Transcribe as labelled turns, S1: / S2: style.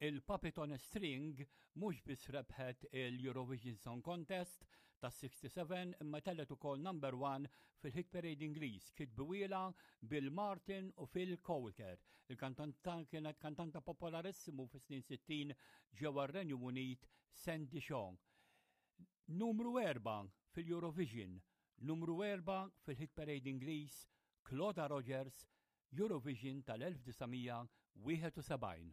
S1: Il-Puppet on a String mhux biss rebħet il-Eurovision Song Contest tas-67 imma tellet ukoll number one fil-Hit Parade Ingliż kitbiwiela Bill Martin u Phil Coulter. Il-kantanta kienet kantanta popolarissimu fis-snin 60 ġewwa r-Renju Unit Sandy Shaw. Numru 4 fil-Eurovision, numru 4 fil-Hit Parade Ingliż Claudia Rogers Eurovision tal-1971.